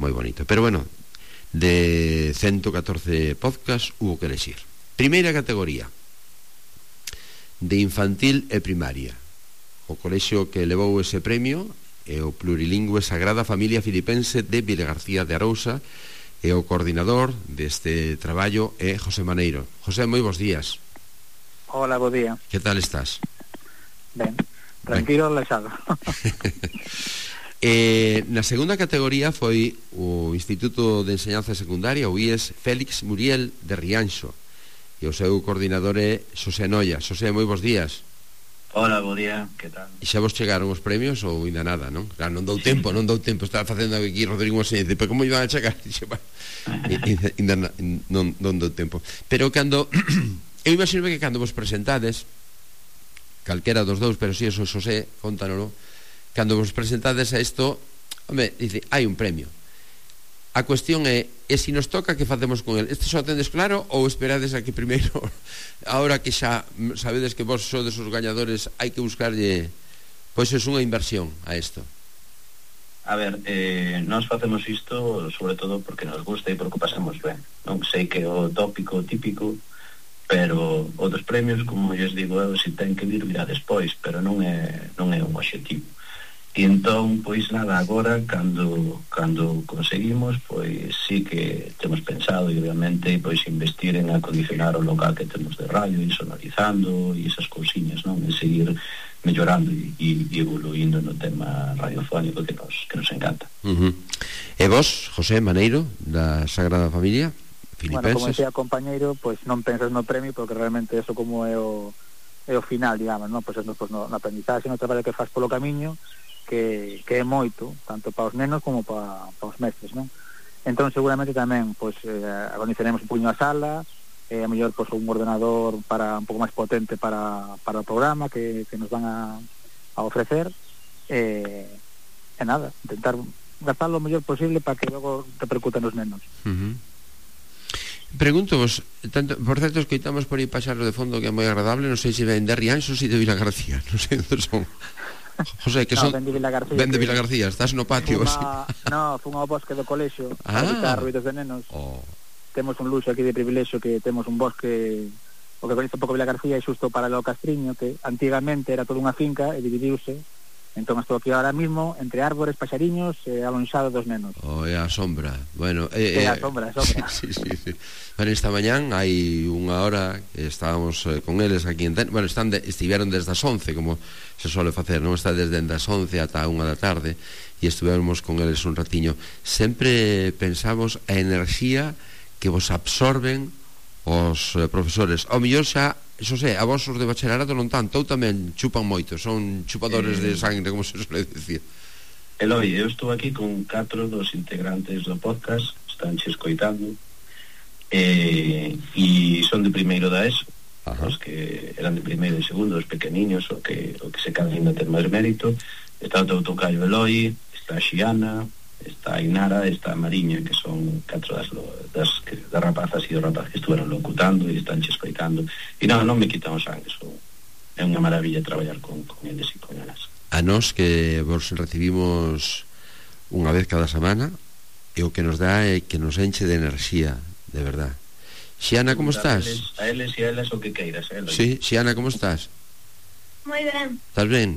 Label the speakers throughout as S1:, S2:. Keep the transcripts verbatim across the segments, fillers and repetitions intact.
S1: moi bonito. Pero bueno, de ciento catorce podcast hubo que elegir. Primeira categoría, de infantil e primaria. O colexio que levou ese premio é o plurilingüe Sagrada Familia Filipense de Vilagarcía de Arousa, e o coordinador deste traballo é José Maneiro. José, moi bons días.
S2: Hola, bo día.
S1: Que tal estás?
S2: Ben, tranquilo, relaxado.
S1: eh, na segunda categoría foi o Instituto de Enseñanza Secundaria, o I E S Félix Muriel de Rianxo, e o seu coordinador é Xosé Noia. Xosé, moi bons días.
S3: Hola, bo día, que tal?
S1: E xa vos chegaron os premios ou ainda nada, non? Claro, non dou sí. tempo, non dou tempo. Estaba facendo aquí Rodrigo Moseñez, pero como iban a chegar? Ainda non, non dou tempo. Pero cando eu imagino que cando vos presentades, calquera dos dous, pero si eso Xosé, contanolo, cando vos presentades a isto, home, dice, hai un premio. A cuestión é, e se nos toca, que facemos con el? Este só tendes claro ou esperades a que primeiro, ahora que xa sabedes que vos sodes os gañadores, hai que buscarlle, pois é unha inversión a isto?
S3: A ver, eh, nós facemos isto sobre todo porque nos gusta e porque pasamos ben. Non sei que é o tópico típico, pero outros premios, como lles digo eu, se ten que vir, virá despois, pero non é, non é un obxectivo. E entón, pois nada, agora cando cando conseguimos, pois sí que temos pensado, e obviamente, pois investir en acondicionar o local que temos de radio, e sonorizando, e esas cousiñas, non? E seguir mellorando e, e evoluindo no tema radiofónico que nos, que nos encanta.
S1: Uh-huh. E vos, José Maneiro, da Sagrada Familia Filipenses?
S2: Bueno, como decía compañeiro, pois non pensas no premio, porque realmente eso como é o, é o final, digamos, non? Pois no, pues, no, no aprendizaxe, no traballo que faz polo camiño, que, que é moito, tanto para os nenos como para, para os mestres, non? Entón seguramente tamén pois, eh, acondicionemos un puño a sala, eh, a mellor pois, un ordenador para un pouco máis potente para, para o programa que, que nos van a, a ofrecer, eh, e nada, intentar gastarlo o mellor posible para que logo repercutan os nenos.
S1: Uh-huh. Pregunto-vos, tanto, por certo, escoitamos por aí paxarlo de fondo que é moi agradable, non sei se ven de Rianxo ou se de Vilagarcía, non sei onde son. José, que son...
S2: No, ven de Vilagarcía.
S1: Ven de Vilagarcía, estás no patio.
S2: Fuma, no, fun ao bosque do colexio
S1: ah.
S2: para evitar ruidos de nenos.
S1: Oh.
S2: Temos un luxo aquí de privilexio que temos un bosque, o que coñece un pouco Vilagarcía, é xusto para o Castriño, que antigamente era toda unha finca e dividiuse. Entón estou aquí ahora mismo entre árbores, paxariños e alonxado dos nenos.
S1: Oh, é a sombra. Bueno, eh,
S2: é a sombra, a sombra.
S1: Sí, sí, sí. Bueno, esta mañán hai unha hora que estábamos eh, con eles aquí en Ten... Bueno, están de, estiveron desde as once, como se suele facer, non? Está desde as once ata a unha da tarde e estivemos con eles un ratiño. Sempre pensamos a enerxía que vos absorben os eh, profesores. Ao mellor xa, iso sei, a vos os de bacharelato non tanto, ou tamén chupan moito, son chupadores eh, de sangre, como se suele decir.
S3: Eloi, eu estou aquí con catro dos integrantes do podcast, están che escoitando, eh, e son de primeiro da ESO. Ajá. Os que eran de primeiro e segundo, os pequeniños, o que, o que se caen ainda ter máis mérito. Está o teu tocayo Eloi, está a Xiana, está a Inara, está a Mariña, que son catro das, das, das rapazas e dos rapazes que estuveron locutando e están che escoitando. E non, non me quitan o sangue, so, é unha maravilla traballar con, con eles e con elas.
S1: A nós que vos recibimos unha vez cada semana, e o que nos dá é que nos enche de enerxía, de verdad. Xiana, como estás?
S3: A eles e a elas o que queiras, eh?
S1: Sí, Xiana, como estás?
S4: Moi ben.
S1: Estás ben?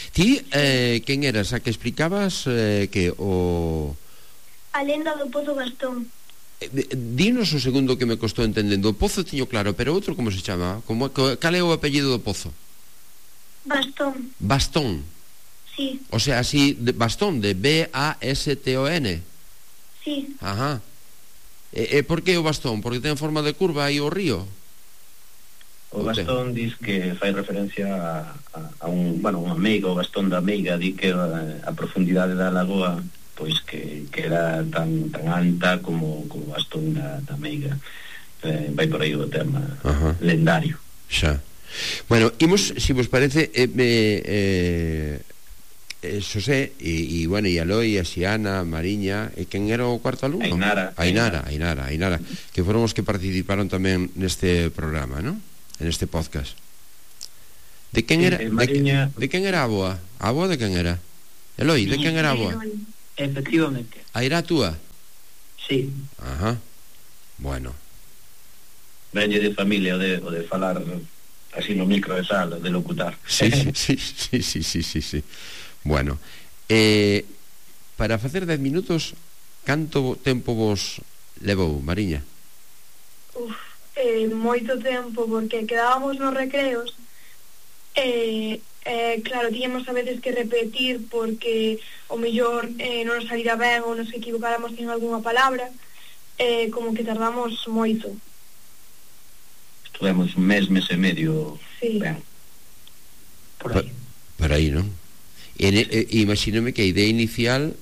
S1: Ti, eh, quen eras? A que explicabas eh, que o...
S4: A lenda do Pozo Gastón.
S1: Eh, dinos o segundo que me costou entendendo. O Pozo tiño claro, pero outro como se chama? Como, cal é o apellido do Pozo?
S4: Bastón.
S1: Bastón?
S4: Sí.
S1: O sea, así, de, Bastón, de B A S T O N?
S4: Sí.
S1: Ajá. E, e por que o Bastón? Porque ten forma de curva aí o río?
S3: O Bastón dis que fai referencia a, a, a un, bueno, unha meiga, o Bastón da meiga, di que a, a profundidade da lagoa pois que, que era tan, tan alta como, como o Bastón da, da meiga. Eh, vai por aí o tema. Ajá. Lendario.
S1: Xa. Bueno, imos, se si vos parece, eh, eh, eh, Xosé e, e, bueno, e Aloi, a Xiana, a Mariña, e quen era o cuarto alumno?
S3: Ainara.
S1: Ainara, Ainara, Ainara, que foron os que participaron tamén neste programa, non? En este podcast. De quen era?
S3: Sí, Mariña...
S1: de, de quen era a boa? A boa de quen era? Eloi, de quen era a boa?
S5: Efectivamente.
S1: A era a túa?
S5: Sí.
S1: Ajá. Bueno.
S3: Venlle de familia o de, o de falar así no micro de sala, de locutar.
S1: Sí, sí, sí, sí, sí, sí, sí. Bueno, eh, para facer dez minutos, canto tempo vos levou, Mariña?
S4: Uf, eh, moito tempo, porque quedábamos nos recreos e, eh, claro, tiñamos a veces que repetir porque o mellor eh, non nos salira ben ou nos equivocáramos en algunha palabra, eh, como que tardamos moito.
S3: Estuvemos un mes, mes e medio.
S4: Sí.
S3: Ben.
S5: Por aí.
S1: Por aí, non? E, e, imagínome que a idea inicial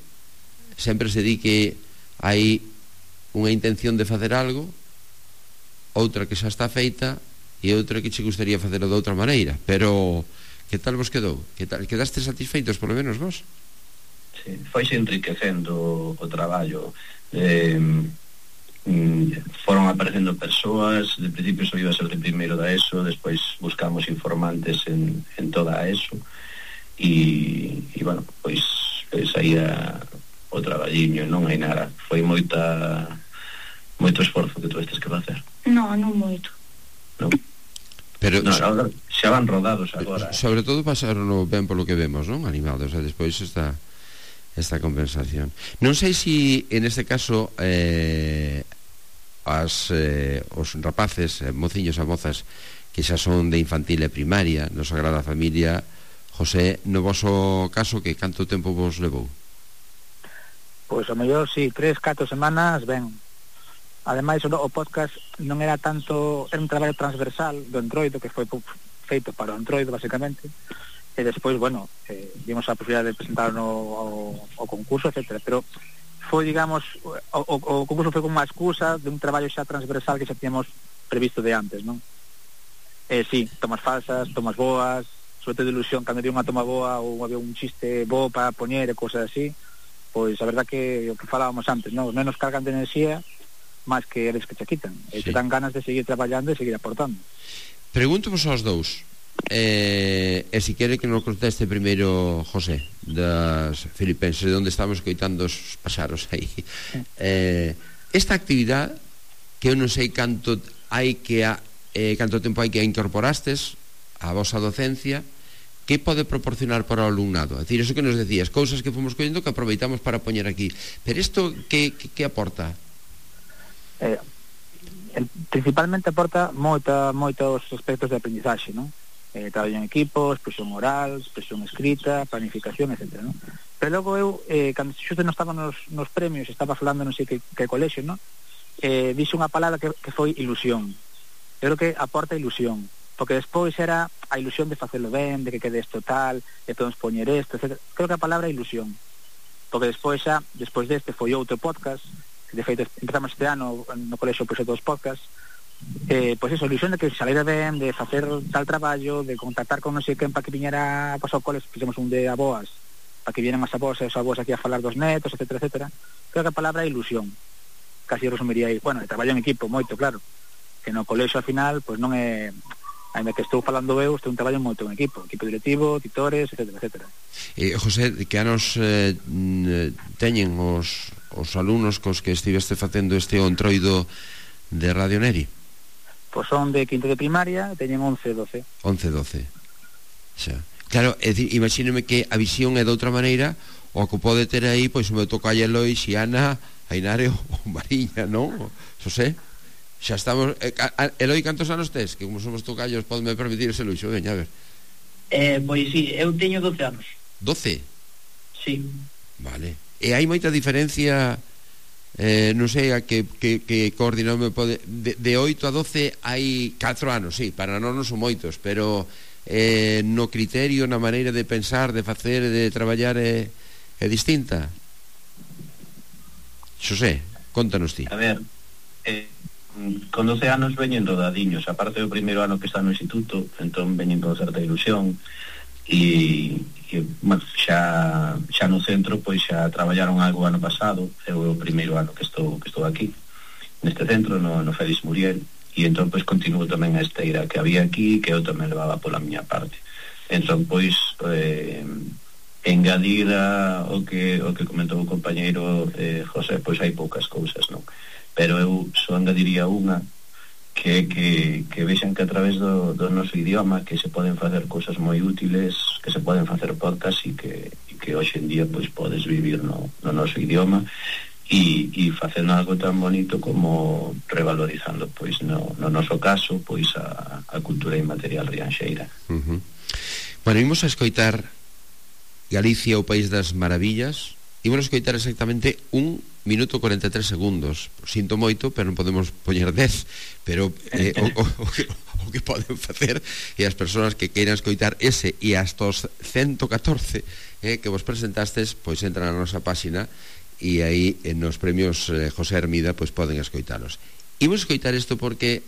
S1: sempre se di que hai unha intención de facer algo, outra que xa está feita e outra que che gustaría facelo de outra maneira, pero que tal vos quedou? Que tal? Quedaste satisfeitos polo menos vos?
S3: Sí, foise enriquecendo o traballo. Eh, foron aparecendo persoas, de principio só iba a ser de primeiro da ESO, despois buscamos informantes en, en toda a ESO e, e bueno, pois, pois aí a, o traballiño, non hai nada, foi moita moito esforzo que tu estes que facer.
S4: Non, non moito.
S3: Non?
S1: Pero
S3: no, agora, xa van rodados agora.
S1: Sobre todo pasaron ben polo que vemos, non? Animados, e despois está esta compensación. Non sei se en este caso eh, as, eh, os rapaces, eh, mociños e mozas que xa son de infantil e primaria no Sagrada Familia, José, no voso caso, que canto tempo vos levou?
S2: Pois ao mellor, si, sí, tres, catro semanas, ben. Ademais, o podcast non era tanto, era un traballo transversal do Entroido, que foi feito para o Entroido, basicamente, e despois, bueno, eh, dimos a posibilidade de presentar no, ao, ao concurso, etcétera. Pero foi, digamos, o, o, o concurso foi como unha excusa de un traballo xa transversal que xa tínhamos previsto de antes, non? Eh, sí, tomas falsas, tomas boas, sobre todo de ilusión, cando había unha toma boa ou había un chiste bo para poñer e cosas así, pois a verdad que o que falábamos antes, non? Os nenos cargan de enerxía máis que eles que che quitan, e sí, te dan ganas de seguir traballando e seguir aportando.
S1: Pregunto-vos aos dous, eh, e se quere que nos conteste primeiro José das Filipenses, de onde estamos coitando os paxaros aí. Sí. Eh, esta actividade que eu non sei canto hai que a, eh, canto tempo hai que a incorporastes a vosa docencia, que pode proporcionar para o alumnado? É dicir, eso que nos decías, cousas que fomos collendo que aproveitamos para poñer aquí, pero isto que, que, que aporta?
S2: Eh, principalmente aporta moita, moitos aspectos de aprendizaxe, non? Eh, traballo en equipo, expresión oral, expresión escrita, planificación, etcétera, non? Pero logo eu, eh, cando xusto non estaba nos, nos premios, estaba falando non sei que, que colexio, non? Eh, dixe unha palabra que, que foi ilusión. Eu creo que aporta ilusión, porque despois era a ilusión de facelo ben, de que quede isto tal, de podemos poñer isto, etcétera. Creo que a palabra é ilusión, porque despois xa, despois deste foi outro podcast, que de feito empezamos este ano no colexo pois dos podcasts, eh, pois eso, ilusión de que salera ben, de facer tal traballo, de contactar con non sei quen para que viñera pois ao coles, fixemos un de aboas, para que vieran as aboas e os aboas aquí a falar dos netos, etcétera, etcétera. Creo que a palabra é ilusión, casi resumiría aí. Bueno, traballo en equipo moito, claro, que no colexo ao final pois non é, ainda que estou falando eu, estou un traballo moito en equipo, equipo directivo, titores, etcétera, etcétera.
S1: Eh, José, que anos eh, teñen os, os alumnos cos que estiveste facendo este Entroido de Radio Neri?
S2: Pois son de quinto de primaria, teñen once, doce.
S1: once, doce. Xa. Claro, é dicir, imagínome que a visión é de outra maneira, o que pode ter aí, pois o meu toca a Eloi, Xiana, Ainare ou Mariña, non? Xosé? Xa estamos... Eh, Eloi, cantos anos tes? Que como somos tocallos, podeme permitir ese luxo. Veña, a ver.
S5: Eh, pois sí, eu teño doce anos.
S1: doce?
S5: Sí.
S1: Vale. E hai moita diferencia, eh, non sei a que, que, que coordinome pode... De, de oito a doce hai catro anos, sí, para nós non son moitos, pero eh, no criterio, na maneira de pensar, de facer, de traballar é, é distinta. Xosé, contanos ti.
S3: A ver, eh, con doce anos veñen rodadiños, aparte do primeiro ano que está no instituto, entón veñen con certa ilusión e, e bueno, xa, xa no centro pois xa traballaron algo ano pasado, é o primeiro ano que estou, que estou aquí neste centro, no, no Félix Muriel, e entón pois continuo tamén a esteira que había aquí, que eu tamén levaba pola miña parte. Entón pois eh, engadir a, o que o que comentou o compañeiro eh, José, pois hai poucas cousas, non? Pero eu só engadiría unha que, que, que vexan que a través do, do noso idioma que se poden facer cousas moi útiles, que se poden facer podcast e que, e que hoxe en día pois podes vivir no, no noso idioma e, e facendo algo tan bonito como revalorizando pois no, no noso caso pois a, a cultura inmaterial rianxeira.
S1: Uh-huh. Bueno, imos a escoitar Galicia, o País das Maravillas. Imos a escoitar exactamente un minuto cuarenta e tres segundos. Sinto moito, pero non podemos poñer dez. Pero eh, o, o, o, que, o que poden facer e as persoas que queiran escoitar ese e hasta os ciento catorce eh, que vos presentastes, pois entran na nosa páxina e aí en nos premios eh, José Hermida pois poden escoitalos. Imos escoitar isto porque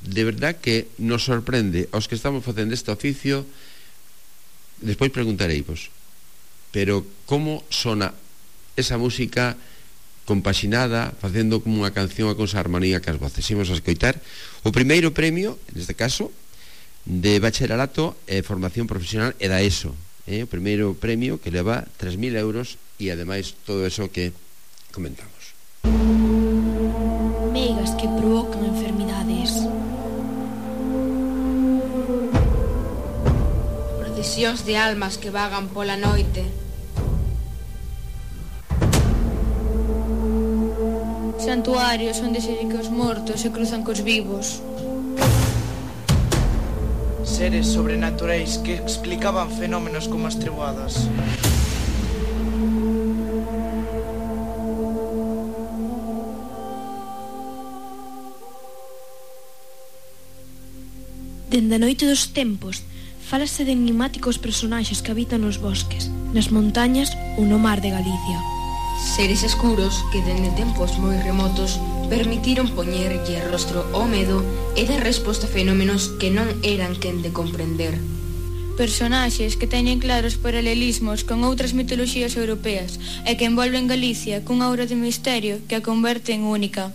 S1: de verdad que nos sorprende aos que estamos facendo este oficio. Despois preguntareivos, pero como sona esa música compaxinada, facendo como unha canción a con esa armonía que as voces. Imos a escoitar o primeiro premio, neste caso, de bacharelato e formación profesional e da ESO, eh? O primeiro premio que leva tres mil euros e ademais todo eso que comentamos.
S6: Megas que provocan enfermidades, procesións de almas que vagan pola noite, santuarios onde se di que os mortos se cruzan cos vivos,
S7: seres sobrenaturais que explicaban fenómenos como as treboadas.
S6: Dende a noite dos tempos fálase de enigmáticos personaxes que habitan nos bosques, nas montañas ou no mar de Galicia.
S8: Seres escuros que dende tempos moi remotos permitiron poñerlle rostro ao medo e dar resposta a fenómenos que non eran quen de comprender.
S6: Personaxes que teñen claros paralelismos con outras mitoloxías europeas e que envolven Galicia cunha aura de misterio que a converte en única.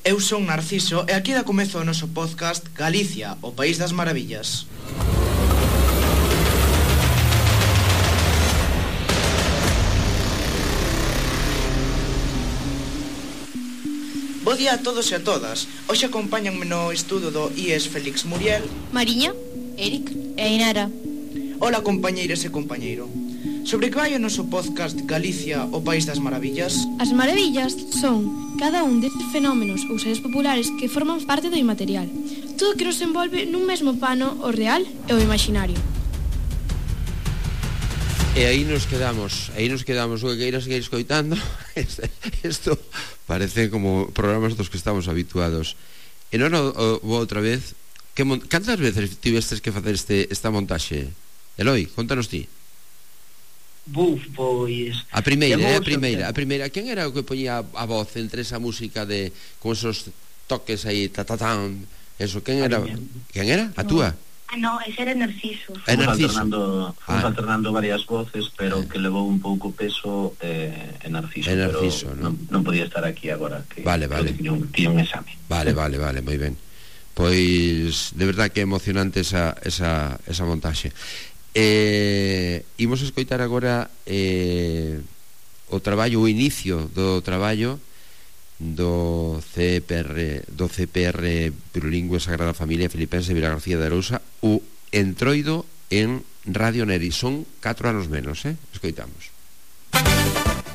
S7: Eu son Narciso e aquí dá comezo o noso podcast Galicia, o País das Maravillas. Bo día a todos e a todas. Hoxe acompáñanme no estudo do I E S Félix Muriel,
S6: Mariña, Eric e Inara.
S7: Ola compañeiras e compañeiro. Sobre que vai o noso podcast Galicia, o País das Maravillas?
S6: As maravillas son cada un destes fenómenos ou seres populares que forman parte do inmaterial. Todo que nos envolve nun mesmo pano o real e o imaginario.
S1: E aí nos quedamos, aí nos quedamos, o que queira seguir escoitando. Isto parece como programas dos que estamos habituados. E non o, o, outra vez, que mon... cantas veces tivestes que facer este, esta montaxe? Eloi, contanos ti.
S5: Buf, pois...
S1: A primeira, eh, a primeira, a primeira. Quen era o que poñía a voz entre esa música de con esos toques aí, ta ta tan, eso, quen era? Quen era? A túa?
S4: Ah, no, ese era Narciso.
S1: É
S3: Fomos
S1: Narciso.
S3: alternando, fomos
S1: Ah.
S3: alternando varias voces, pero
S1: Eh.
S3: que levou un pouco peso eh, en Narciso,
S1: É Narciso,
S3: pero
S1: non?
S3: non, non podía estar aquí agora, que
S1: Vale,
S3: creo
S1: vale.
S3: que tiña un, tiña un exame.
S1: Vale, vale, vale, moi ben. Pois de verdad que é emocionante esa, esa, esa montaxe. Eh, imos escoitar agora eh, o traballo, o inicio do traballo do C P R do C P R Plurilingüe Sagrada Familia Filipense Vila García de Arousa, o Entroido en Radio Neri. Son catro anos menos, eh? Escoitamos.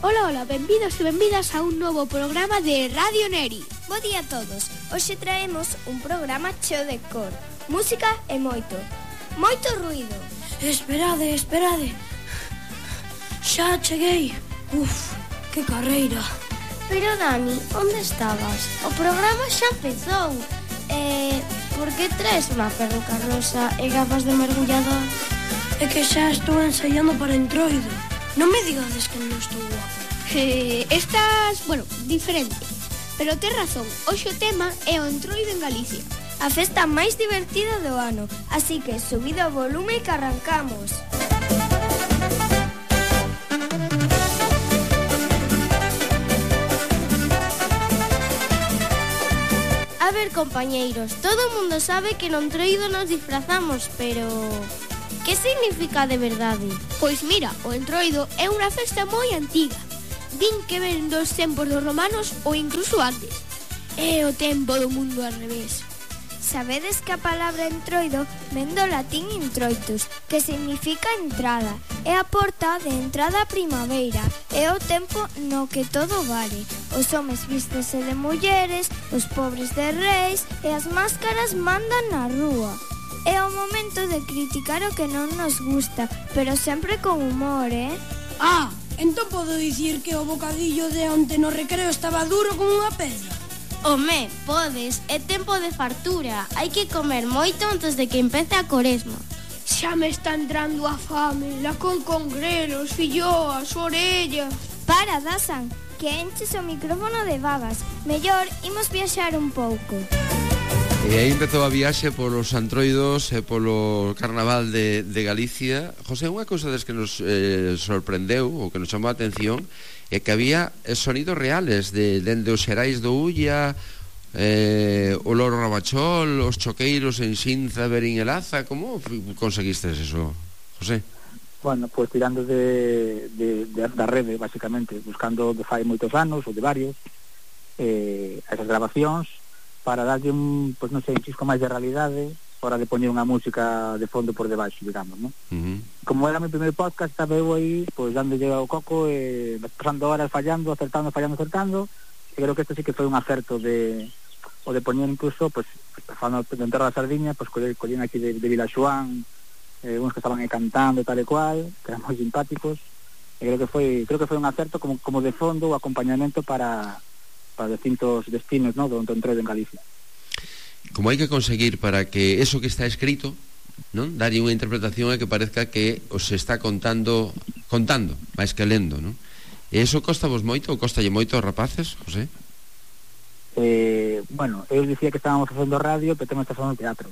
S9: Ola, ola, benvidos e benvidas a un novo programa de Radio Neri.
S10: Bo día a todos. Hoxe traemos un programa cheo de cor, música e moito, moito ruido.
S9: Esperade, esperade. Xa cheguei. Uf, que carreira.
S10: Pero Dani, onde estabas? O programa xa empezou. Eh, por que traes unha perruca rosa e gafas de mergullador?
S9: É que xa estou ensaiando para Entroido. Non me digades que non estou guapo.
S11: Eh, estás, bueno, diferente. Pero tes razón, hoxe o tema é o Entroido en Galicia.
S10: A festa máis divertida do ano, así que subido o volume que arrancamos. A ver, compañeiros, todo o mundo sabe que no Entroido nos disfrazamos, pero... Que significa de verdade?
S11: Pois mira, o Entroido é unha festa moi antiga. Din que ven dos tempos dos romanos ou incluso antes. É o tempo do mundo al revés.
S10: Sabedes que a palabra entroido ven do latín introitus, que significa entrada. É a porta de entrada á primavera. É o tempo no que todo vale. Os homes vístese de mulleres, os pobres de reis, e as máscaras mandan na rúa. É o momento de criticar o que non nos gusta, pero sempre con humor, eh?
S9: Ah, entón podo dicir que o bocadillo de onte no recreo estaba duro como unha pedra.
S10: Home, podes, é tempo de fartura. Hai que comer moito antes de que empece a Coresma.
S11: Xa me está entrando a fame, la col con grelos, filloas, orellas.
S10: Para, Dasan, que enches o micrófono de babas. Mellor, imos viaxar un pouco.
S1: E aí empezou a viaxe polos antroidos e polo carnaval de, de Galicia. José, unha cousa des que nos eh, sorprendeu ou que nos chamou a atención é que había sonidos reales de dende os xerais do Ulla, eh, o Loro Rabachol, os choqueiros en Xinza, Berín e Laza. Como conseguistes eso, José?
S2: Bueno, pues tirando de, de, de da rede, basicamente, buscando de fai moitos anos ou de varios eh, esas grabacións para darlle un, pues non sei, un chisco máis de realidade hora de poñer unha música de fondo por debaixo, digamos, ¿no? Uh-huh. Como era o meu primeiro podcast, estaba eu aí, pois, pues, dándolle ao coco, e eh, pasando horas fallando, acertando, fallando, acertando, e creo que isto sí que foi un acerto de, o de poñer incluso, pois, pues, falando de Enterro da Sardiña, pois, pues, collín aquí de, de Vilaxoán, eh, uns que estaban aí cantando e tal e cual, que eran moi simpáticos, e creo que foi, creo que foi un acerto como, como de fondo, o acompañamento para... para distintos destinos, ¿no?, do Entroido en Galicia.
S1: Como hai que conseguir para que eso que está escrito, non, darlle unha interpretación e que parezca que os está contando contando, máis que lendo, non? E eso costa vos moito ou costalle moito aos rapaces, José?
S2: Eh, bueno, eu dicía que estábamos facendo radio, pero temos que facendo teatro.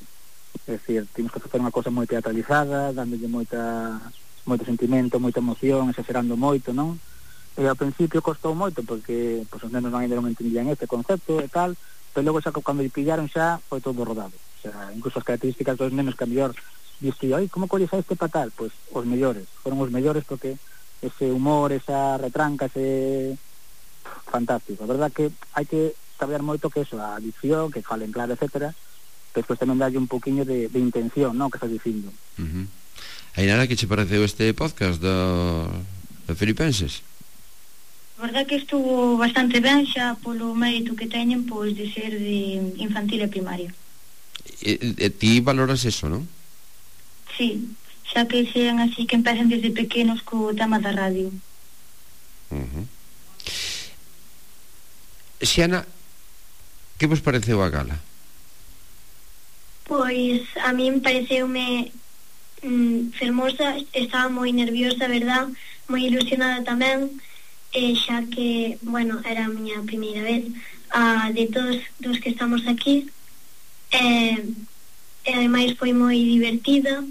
S2: É dicir, temos que facer unha cosa moi teatralizada, dándolle moita moito sentimento, moita emoción, exagerando moito, non? E ao principio costou moito porque pues, os nenos non ainda non entendían este concepto e tal, pero logo xa cando lle pillaron xa foi todo rodado. O sea, incluso as características dos nenos que a mellor diste, ai, como colles a este para tal? Pois pues, os mellores, foron os mellores porque ese humor, esa retranca, ese fantástico. A verdad que hai que saber moito que eso, a dicción, que falen claro, etcétera, pero despois tamén darlle un poquinho de, de intención, non, que estás dicindo.
S1: Uh-huh. Ainara, que che pareceu este podcast do, do Filipenses?
S12: A verdad que estuvo bastante ben xa polo mérito que teñen, pois, de ser de infantil e primaria.
S1: E, e ti valoras eso, non?
S12: Sí, xa que sean así, que empecen desde pequenos co tema da radio.
S1: Uh-huh. Xiana, que vos pareceu a gala?
S4: Pois a min pareceume mm, fermosa, estaba moi nerviosa, verdad, moi ilusionada tamén, e xa que, bueno, era a miña primeira vez a de todos dos que estamos aquí, e, e ademais foi moi divertida,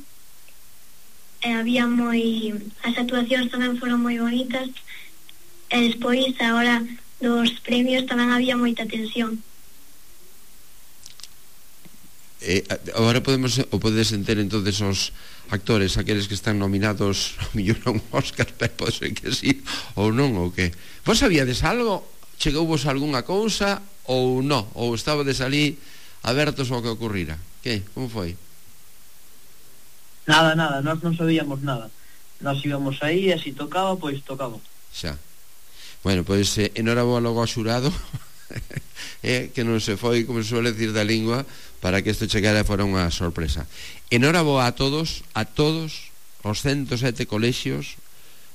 S4: e había moi, as actuacións tamén foron moi bonitas, e despois a hora dos premios tamén había moita tensión.
S1: Eh, agora podemos o podedes entender entonces os actores, aqueles que están nominados a mellor a un Óscar, pero pode ser que sí ou non, ou que vos sabíades algo? Chegouvos algunha cousa ou non? Ou estabades ali abertos ao que ocurrira? Que? Como foi?
S5: Nada, nada, nós non sabíamos nada. Nós íbamos aí e se tocaba, pois tocaba.
S1: Xa. Bueno, pois eh, enhoraboa logo ao xurado eh, que non se foi, como se suele decir, da lingua, para que isto chegara fora unha sorpresa. Enhoraboa a todos, a todos os ciento sete colexios,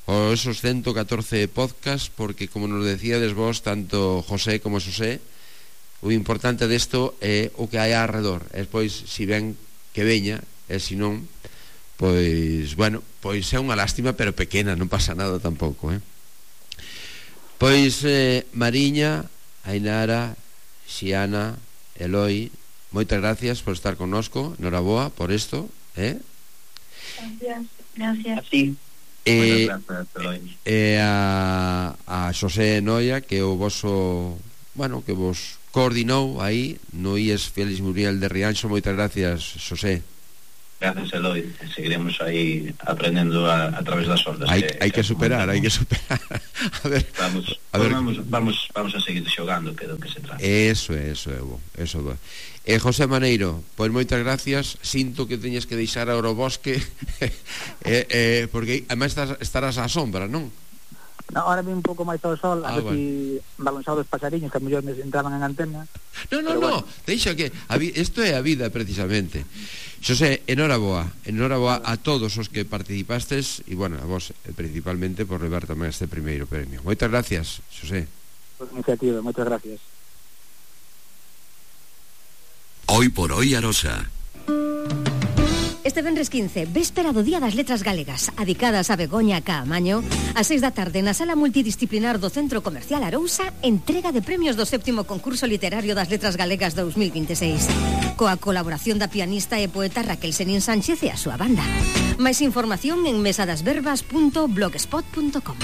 S1: ou esos ciento catorce podcast, porque, como nos decíades vos, tanto José como Xosé, o importante desto é o que hai alrededor. E despois, si ven que veña, e si non, pois, bueno, pois é unha lástima, pero pequena, non pasa nada tampouco, eh? Pois, eh, Mariña, Ainara, Xiana, Eloi, moitas gracias por estar connosco, enhoraboa por isto, eh?
S12: Gracias, gracias.
S5: Así.
S1: E, e a, a Xosé Noia, que o voso, bueno, que vos coordinou aí no I E S Félix Muriel de Rianxo. Moitas gracias, Xosé.
S3: Gracias, Eloy. Seguiremos aí aprendendo a, a través das ondas.
S1: Hai
S3: que,
S1: hai que, que superar, hai que superar. A ver,
S3: vamos,
S1: a ver.
S3: Vamos, vamos, vamos a seguir xogando, que é do que se trata.
S1: Eso, eso, Evo, eso. Eh, José Maneiro, pois moitas gracias. Sinto que teñes que deixar agora o bosque eh, eh, porque además estás, estarás á sombra, non?
S2: No, ahora vi un pouco máis ao sol, a
S1: ah,
S2: ver bueno. si balanzado os pasariños que a mellor me entraban en antena.
S1: No, no, no, bueno. Deixa que isto é a vida precisamente. Xosé, enhoraboa, enhoraboa a todos os que participastes e, bueno, a vos principalmente por levar tamén este primeiro premio. Moitas gracias, Xosé.
S2: Por iniciativa, moitas gracias.
S13: Hoy por hoy Arosa.
S14: Este venres quince, véspera do Día das Letras Galegas, adicadas a Begoña Caamaño, a seis da tarde na sala multidisciplinar do Centro Comercial Arousa, entrega de premios do séptimo concurso literario das Letras Galegas dous mil vinte e seis, coa colaboración da pianista e poeta Raquel Senín Sánchez e a súa banda. Máis información en mesadasverbas punto blogspot punto com.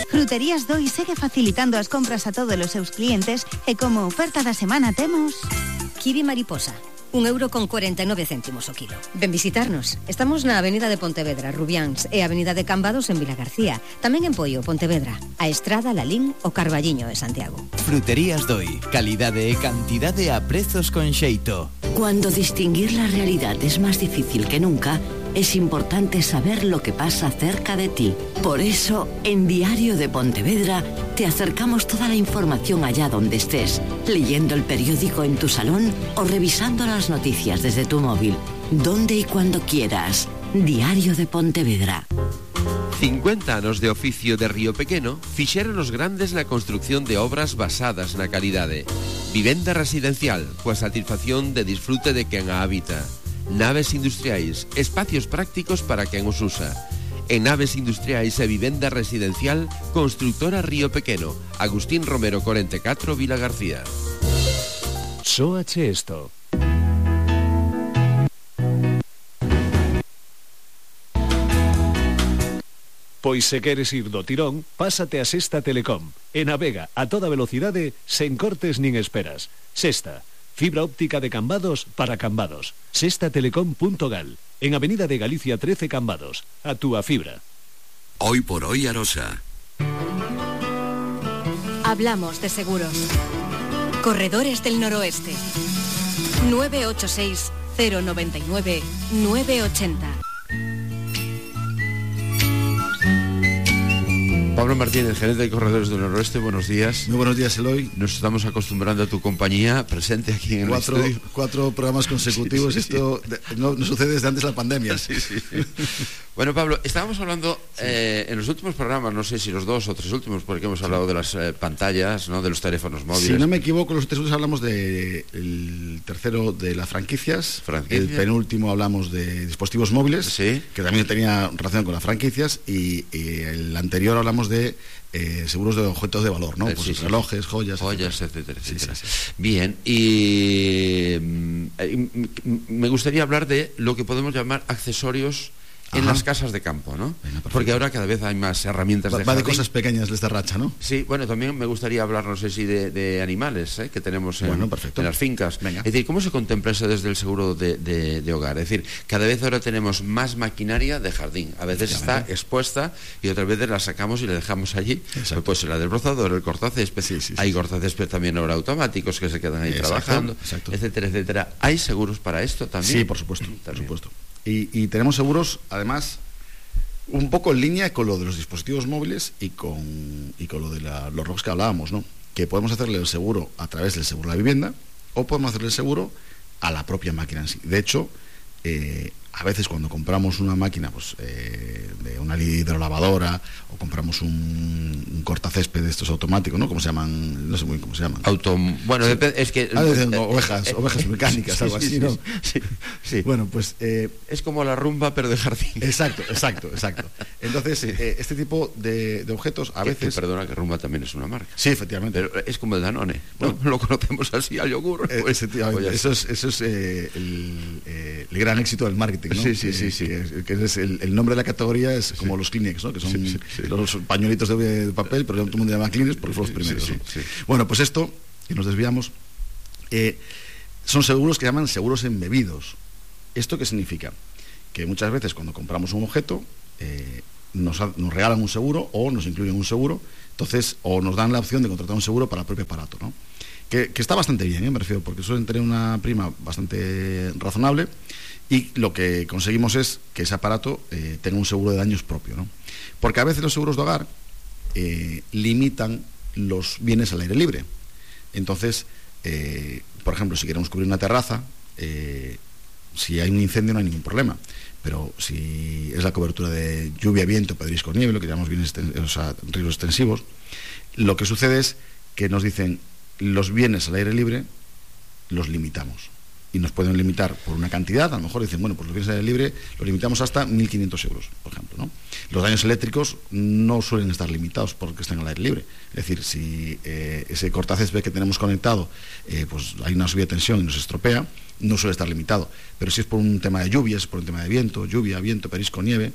S15: Fruterías Doi segue facilitando as compras a todos os seus clientes e como oferta da semana temos
S14: kiwi mariposa, un euro con cuarenta e nove céntimos o kilo. Ven visitarnos. Estamos na Avenida de Pontevedra, Rubiáns, e Avenida de Cambados en Vilagarcía. Tamén en Poio, Pontevedra, a Estrada, Lalín o Carballiño de Santiago.
S16: Fruterías Doi, calidade e cantidade a prezos con xeito.
S17: Cuando distinguir la realidad es más difícil que nunca, es importante saber lo que pasa cerca de ti. Por eso, en Diario de Pontevedra, te acercamos toda la información allá donde estés, leyendo el periódico en tu salón o revisando las noticias desde tu móvil, donde y cuando quieras. Diario de Pontevedra.
S1: cincuenta anos de oficio de Río Pequeno fixeron os grandes na construcción de obras basadas na calidade. Vivenda residencial, coa satisfacción de disfrute de quen a habita. Naves industriais, espacios prácticos para quen os usa. En naves industriais e vivenda residencial, Constructora Río Pequeno, Agustín Romero cuarenta y cuatro, Vila García.
S18: Sóache esto. Pois se queres ir do tirón, pásate a Sexta Telecom. E navega a toda velocidade, sen cortes nin esperas. Sexta, fibra óptica de Cambados para Cambados. sexta telecom punto gal. En Avenida de Galicia trece Cambados. A túa fibra.
S13: Hoy por hoy Arosa.
S14: Hablamos de seguros. Corredores del Noroeste. nueve ocho seis, cero nueve nueve, nueve ocho cero.
S1: Pablo Martínez, gerente de Corredores del Noroeste, buenos días.
S19: Muy buenos días, Eloy.
S1: Nos estamos acostumbrando a tu compañía presente aquí en
S19: cuatro,
S1: el estudio.
S19: Cuatro programas consecutivos, sí, sí, esto sí. No, no sucede desde antes de la pandemia.
S1: Sí, sí, sí. Bueno, Pablo, estábamos hablando sí. eh, en los últimos programas, no sé si los dos o tres últimos, porque hemos hablado sí. de las eh, pantallas, ¿no? De los teléfonos móviles.
S19: Si no me equivoco, los tres últimos hablamos de el tercero de las franquicias, Franquicia. El penúltimo hablamos de dispositivos móviles,
S1: sí.
S19: que también tenía relación con las franquicias, y, y el anterior hablamos de eh, seguros de objetos de valor, ¿no? Eh, pues sí, relojes, sí. joyas,
S1: joyas, etcétera, etcétera. Sí, sí, sí. Bien, y eh, me gustaría hablar de lo que podemos llamar accesorios en Ajá. las casas de campo, ¿no? Venga, porque ahora cada vez hay más herramientas
S19: va,
S1: de
S19: va de cosas pequeñas de esta racha, ¿no?
S1: Sí, bueno, también me gustaría hablar, no sé si de, de animales, ¿eh? Que tenemos en,
S19: bueno,
S1: en las fincas. Venga. Es decir, ¿cómo se contempla eso desde el seguro de, de, de hogar? Es decir, cada vez ahora tenemos más maquinaria de jardín. A veces está expuesta y otras veces la sacamos y la dejamos allí. Exacto. Pues la desbrozadora, el cortacésped. Sí, sí, hay sí, cortacésped sí. también ahora automáticos que se quedan ahí exacto, trabajando, exacto. etcétera, etcétera. ¿Hay seguros para esto también?
S19: Sí, por supuesto, por supuesto. Y, y tenemos seguros, además, un poco en línea con lo de los dispositivos móviles y con, y con lo de la, los rocks que hablábamos, ¿no? Que podemos hacerle el seguro a través del seguro de la vivienda o podemos hacerle el seguro a la propia máquina en sí. De hecho, eh, a veces cuando compramos una máquina pues eh, de una hidrolavadora o compramos un, un cortacésped de estos automáticos, ¿no? ¿Cómo se llaman? No sé muy bien cómo se llaman.
S1: Auto... Bueno, sí. depende, es que...
S19: Ah, dicen, eh, ovejas, eh, ovejas mecánicas, sí, algo así, sí, ¿no?
S1: Sí, sí.
S19: Bueno, pues... Eh,
S1: es como la rumba, pero de jardín.
S19: Exacto, exacto, exacto. Entonces, sí. eh, este tipo de, de objetos a
S1: que,
S19: veces...
S1: Que, perdona, que rumba también es una marca.
S19: Sí, efectivamente.
S1: Pero es como el Danone. Bueno, no lo conocemos así al yogur.
S19: Eh,
S1: pues,
S19: efectivamente. Eso es, eso es eh, el, eh, el gran éxito del marketing, ¿no?
S1: Sí, sí, sí, sí.
S19: Que, que es el, el nombre de la categoría es como sí. los Kleenex, ¿no? Que son sí, sí, sí. los pañuelitos de, de papel, pero todo el mundo llama Kleenex porque fueron los primeros, sí, sí, sí, sí. Bueno, pues esto, que nos desviamos, eh, son seguros que llaman seguros embebidos. ¿Esto qué significa? Que muchas veces cuando compramos un objeto eh, nos, nos regalan un seguro o nos incluyen un seguro, entonces, o nos dan la opción de contratar un seguro para el propio aparato, ¿no? Que, que está bastante bien, ¿eh? Me refiero, porque suelen tener una prima bastante razonable y lo que conseguimos es que ese aparato eh, tenga un seguro de daños propio, ¿no? Porque a veces los seguros de hogar eh, limitan los bienes al aire libre. Entonces, eh, por ejemplo, si queremos cubrir una terraza, eh, si hay un incendio no hay ningún problema, pero si es la cobertura de lluvia, viento, pedrisco, nieve, lo que llamamos bienes, o sea, riesgos extensivos, lo que sucede es que nos dicen los bienes al aire libre los limitamos y nos pueden limitar por una cantidad. A lo mejor dicen, bueno, pues los bienes al aire libre los limitamos hasta mil quinientos euros, por ejemplo, ¿no? Los daños eléctricos no suelen estar limitados porque estén al aire libre. Es decir, si eh, ese cortacésped que tenemos conectado, eh, pues hay una subida de tensión y nos estropea, no suele estar limitado. Pero si es por un tema de lluvias, por un tema de viento, lluvia, viento, perisco, nieve,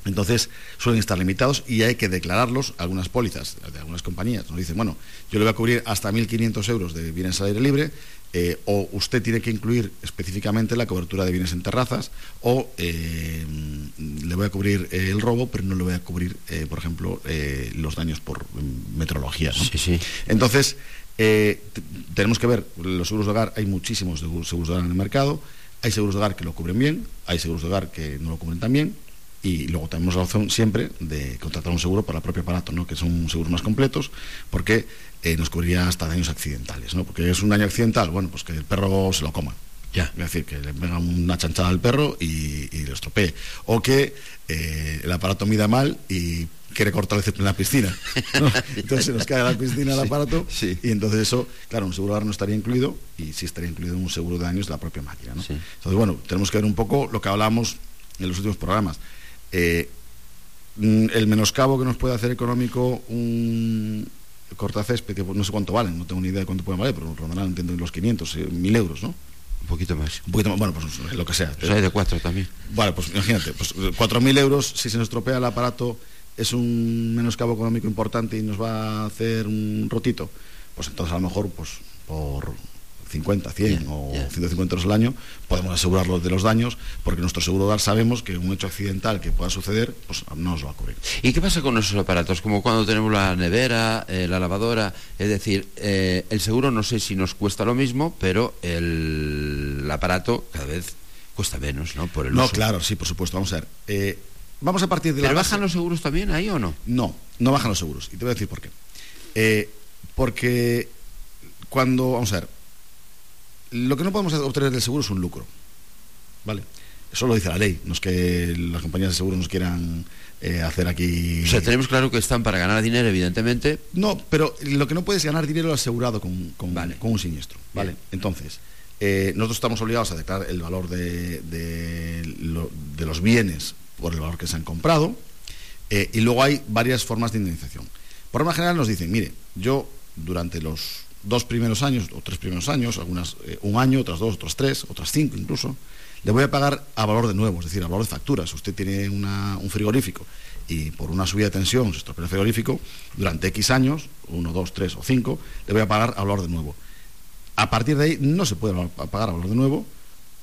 S19: entonces suelen estar limitados y hay que declararlos. Algunas pólizas de algunas compañías nos dicen, bueno, yo le voy a cubrir hasta mil quinientos euros de bienes al aire libre, eh, o usted tiene que incluir específicamente la cobertura de bienes en terrazas, o eh, le voy a cubrir eh, el robo, pero no le voy a cubrir, eh, por ejemplo, eh, los daños por meteorología, ¿no?
S1: Sí, sí.
S19: Entonces, eh, tenemos que ver, los seguros de hogar, hay muchísimos seguros de hogar en el mercado, hay seguros de hogar que lo cubren bien, hay seguros de hogar que no lo cubren tan bien. Y luego tenemos la opción siempre de contratar un seguro para el propio aparato, ¿no? Que son seguros más completos, porque eh, nos cubriría hasta daños accidentales, ¿no? Porque es un daño accidental, bueno, pues que el perro se lo coma. Ya. Es decir, que le venga una chanchada al perro y, y lo estropee. O que eh, el aparato mida mal y quiere cortar el césped en la piscina, ¿no? Entonces se nos cae a la piscina el aparato, sí, sí. Y entonces eso, claro, un seguro de hogar no estaría incluido y sí estaría incluido en un seguro de daños de la propia máquina, ¿no? Sí. Entonces, bueno, tenemos que ver un poco lo que hablamos en los últimos programas. Eh, el menoscabo que nos puede hacer económico un cortacésped, que no sé cuánto valen, no tengo ni idea de cuánto pueden valer, pero rondarán, entiendo, los quinientos, eh, mil euros, ¿no?
S1: Un poquito más.
S19: Un poquito más, bueno, pues lo que sea.
S1: Pues hay de cuatro también.
S19: Vale, pues imagínate, pues cuatro mil euros, si se nos estropea el aparato, es un menoscabo económico importante y nos va a hacer un rotito, pues entonces a lo mejor, pues por cincuenta, cien yeah, o yeah. ciento cincuenta euros al año podemos asegurarlo de los daños, porque nuestro seguro de hogar sabemos que un hecho accidental que pueda suceder pues no nos va a cubrir.
S1: ¿Y qué pasa con esos aparatos? Como cuando tenemos la nevera, eh, la lavadora, es decir, eh, el seguro no sé si nos cuesta lo mismo, pero el, el aparato cada vez cuesta menos, ¿no? Por el
S19: no,
S1: uso.
S19: Claro, sí, por supuesto, vamos a ver. Eh, vamos a partir de
S1: ¿Pero
S19: la
S1: bajan
S19: base...
S1: los seguros también ahí o no?
S19: No, no bajan los seguros, y te voy a decir por qué. Eh, porque cuando, vamos a ver, lo que no podemos obtener del seguro es un lucro, ¿vale? Eso lo dice la ley, no es que las compañías de seguro nos quieran eh, hacer aquí...
S1: O sea, tenemos claro que están para ganar dinero, evidentemente.
S19: No, pero lo que no puede es ganar dinero asegurado con, con, vale. con un siniestro, ¿vale? Bien. Entonces, eh, nosotros estamos obligados a declarar el valor de, de, lo, de los bienes por el valor que se han comprado, eh, y luego hay varias formas de indemnización. Por norma general nos dicen, mire, yo durante los dos primeros años o tres primeros años, algunas eh, un año, otras dos, otras tres, otras cinco incluso, le voy a pagar a valor de nuevo, es decir, a valor de factura. Si usted tiene una, un frigorífico y por una subida de tensión se estropea el frigorífico, durante X años, uno, dos, tres o cinco, le voy a pagar a valor de nuevo. A partir de ahí no se puede pagar a valor de nuevo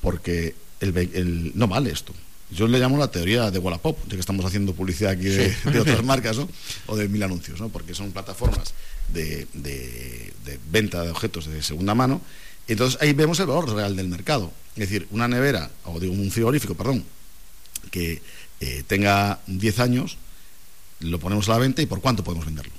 S19: porque el, el, no vale esto. Yo le llamo la teoría de Wallapop, ya que estamos haciendo publicidad aquí de, sí. de otras marcas, ¿no? O de mil anuncios, ¿no? Porque son plataformas de, de, de venta de objetos de segunda mano. Entonces ahí vemos el valor real del mercado. Es decir, una nevera, o digo un frigorífico, perdón, que eh, tenga diez años, lo ponemos a la venta y ¿por cuánto podemos venderlo?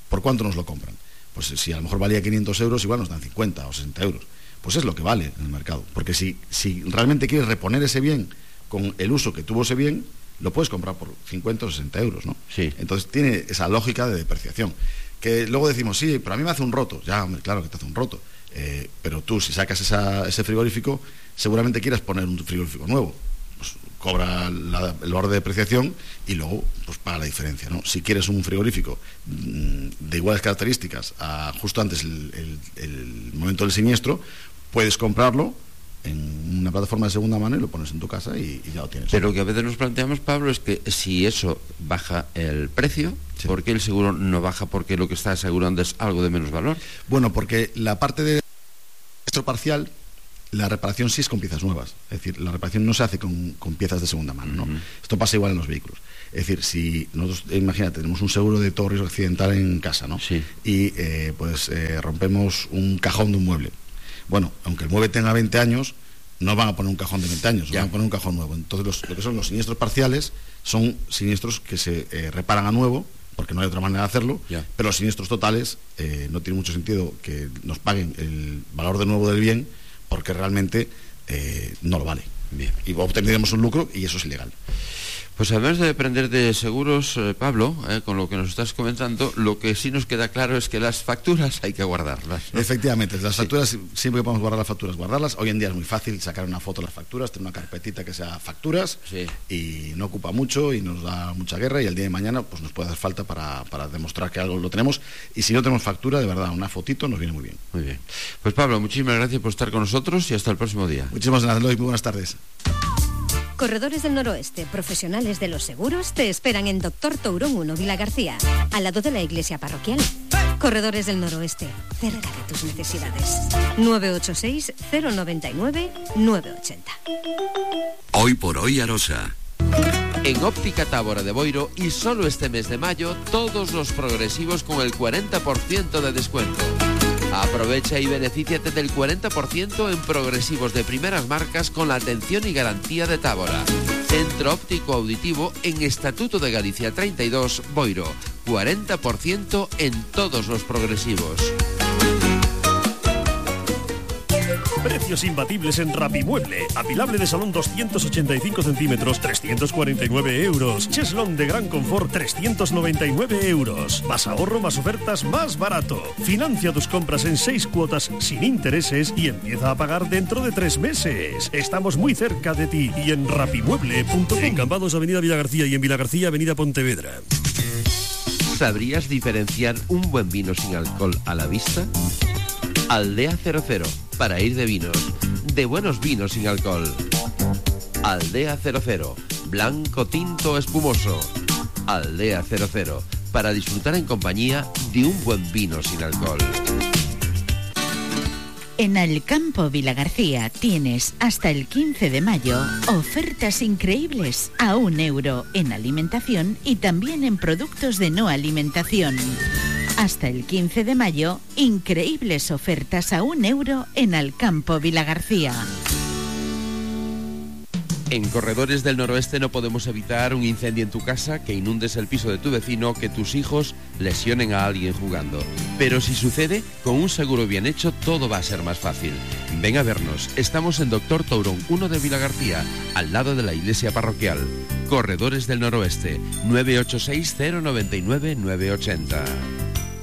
S19: ¿Por cuánto nos lo compran? Pues si a lo mejor valía quinientos euros, igual nos dan cincuenta o sesenta euros. Pues es lo que vale en el mercado. Porque si, si realmente quieres reponer ese bien con el uso que tuvo ese bien, lo puedes comprar por cincuenta o sesenta euros, ¿no?
S1: Sí.
S19: Entonces tiene esa lógica de depreciación. Que luego decimos, sí, pero a mí me hace un roto. Ya, hombre, claro que te hace un roto. Eh, pero tú, si sacas esa, ese frigorífico, seguramente quieras poner un frigorífico nuevo. Pues cobra la, el valor de depreciación y luego pues paga la diferencia, ¿no? Si quieres un frigorífico mmm, de iguales características a justo antes el, el, el momento del siniestro, puedes comprarlo en una plataforma de segunda mano y lo pones en tu casa y, y ya lo tienes.
S1: Pero lo que a veces nos planteamos, Pablo, es que si eso baja el precio, sí. ¿por qué el seguro no baja? Porque lo que está asegurando es algo de menos valor.
S19: Bueno, porque la parte de siniestro parcial la reparación sí es con piezas nuevas. Es decir, la reparación no se hace con, con piezas de segunda mano, ¿no? Uh-huh. Esto pasa igual en los vehículos. Es decir, si nosotros, imagínate, tenemos un seguro de todo riesgo accidental en casa, ¿no? Sí. Y eh, pues eh, rompemos un cajón de un mueble. Bueno, aunque el mueble tenga veinte años, no van a poner un cajón de veinte años, ya. Van a poner un cajón nuevo. Entonces, los, lo que son los siniestros parciales son siniestros que se eh, reparan a nuevo, porque no hay otra manera de hacerlo, ya. Pero los siniestros totales eh, no tiene mucho sentido que nos paguen el valor de nuevo del bien, porque realmente eh, no lo vale. Bien. Y obtendremos un lucro y eso es ilegal.
S1: Pues además de aprender de seguros, eh, Pablo, eh, con lo que nos estás comentando, lo que sí nos queda claro es que las facturas hay que guardarlas, ¿no?
S19: Efectivamente, las facturas, sí. Siempre que podemos guardar las facturas, guardarlas. Hoy en día es muy fácil sacar una foto de las facturas, tener una carpetita que sea facturas, sí. Y no ocupa mucho y nos da mucha guerra, y el día de mañana pues nos puede dar falta para, para demostrar que algo lo tenemos, y si no tenemos factura, de verdad, una fotito nos viene muy bien.
S1: Muy bien. Pues Pablo, muchísimas gracias por estar con nosotros y hasta el próximo día.
S19: Muchísimas gracias, Eloy, muy buenas tardes.
S14: Corredores del Noroeste, profesionales de los seguros, te esperan en Doctor Tourón uno, Vilagarcía, al lado de la iglesia parroquial. Corredores del Noroeste, cerca de tus necesidades. nueve ocho seis, cero nueve nueve, nueve ocho cero.
S13: Hoy por hoy Arosa.
S1: En Óptica Tábora de Boiro, y solo este mes de mayo, todos los progresivos con el cuarenta por ciento de descuento. Aprovecha y benefíciate del cuarenta por ciento en progresivos de primeras marcas con la atención y garantía de Tábora. Centro Óptico Auditivo en Estatuto de Galicia treinta y dos, Boiro. cuarenta por ciento en todos los progresivos.
S20: Precios imbatibles en Rapimueble. Apilable de salón doscientos ochenta y cinco centímetros, trescientos cuarenta y nueve euros. Cheslón de gran confort, trescientos noventa y nueve euros. Más ahorro, más ofertas, más barato. Financia tus compras en seis cuotas sin intereses y empieza a pagar dentro de tres meses. Estamos muy cerca de ti y en rapimueble punto com. En Cambados, Avenida Villagarcía, y en Villagarcía, Avenida Pontevedra.
S1: ¿Sabrías diferenciar un buen vino sin alcohol a la vista? Aldea cero cero, para ir de vinos, de buenos vinos sin alcohol. Aldea cero cero, blanco, tinto, espumoso. Aldea cero cero, para disfrutar en compañía de un buen vino sin alcohol.
S21: En Alcampo Vilagarcía tienes hasta el quince de mayo ofertas increíbles a un euro en alimentación y también en productos de no alimentación. Hasta el quince de mayo, increíbles ofertas a un euro en Alcampo Vilagarcía.
S1: En Corredores del Noroeste no podemos evitar un incendio en tu casa, que inundes el piso de tu vecino, que tus hijos lesionen a alguien jugando. Pero si sucede, con un seguro bien hecho todo va a ser más fácil. Ven a vernos, estamos en Doctor Tourón uno de Vilagarcía, al lado de la iglesia parroquial. Corredores del Noroeste, nueve ocho seis, cero nueve nueve, nueve ocho cero.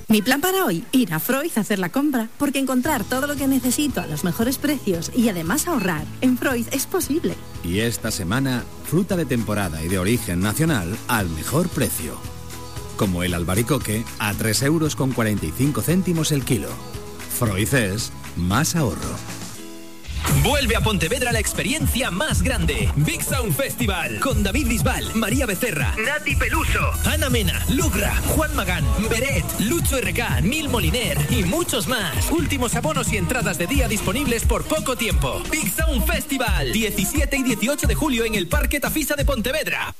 S22: Mi plan para hoy, ir a Freud a hacer la compra, porque encontrar todo lo que necesito a los mejores precios y además ahorrar en Freud es posible.
S23: Y esta semana, fruta de temporada y de origen nacional al mejor precio. Como el albaricoque a tres euros con cuarenta y cinco céntimos el kilo. Freud es más ahorro.
S24: Vuelve a Pontevedra la experiencia más grande. Big Sound Festival. Con David Bisbal, María Becerra, Nati Peluso, Ana Mena, Lugra, Juan Magán, Beret, Lucho R K, Nil Moliner y muchos más. Últimos abonos y entradas de día disponibles por poco tiempo. Big Sound Festival. diecisiete y dieciocho de julio en el Parque Tafisa de Pontevedra.